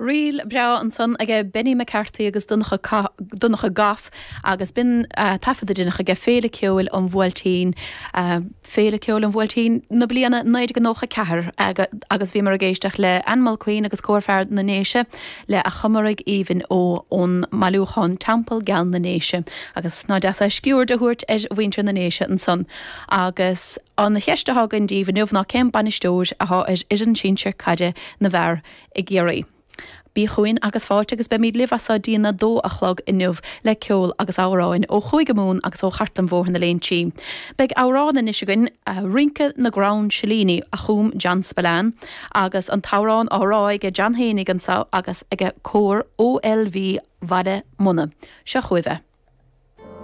Ríl breá ansan aige Benny McCarthy agus Donncha Goff agus b'in taifead a deineadh aige Féile Ceoil an Bhuailtín, Féile Ceoil an Bhuailtín na bliana 1994 agus bhíomar ag éisteacht le Ann Mulqueen agus Cór Fear na nDéise le A Chomaraigh Aoibhinn Ó ón mbailiúchán Teampall Geal na nDéise agus ná deas é sciuird a thabhairt ar mhuintir na nDéise ansan agus an cheist atá againn daoibh inniu ná cén bainisteoir atá ar fhoireann sinsir caide na bhfear i gCiarraí. Bí chugainn agus fáilte agus beimid libh as so dtína dó a chlog inniu le ceol agus amhráin ó Chúige Mumhan agus ó Chartlann Bhóthar na Léinsí. Beidh amhrán anois againn, Rince na gCrann Silíní, a chum John Spillane agus an t-amhrán á rá aige John fhéinig anso agus aige Cór OLV Bhaile Munna. Seo chugaibh é.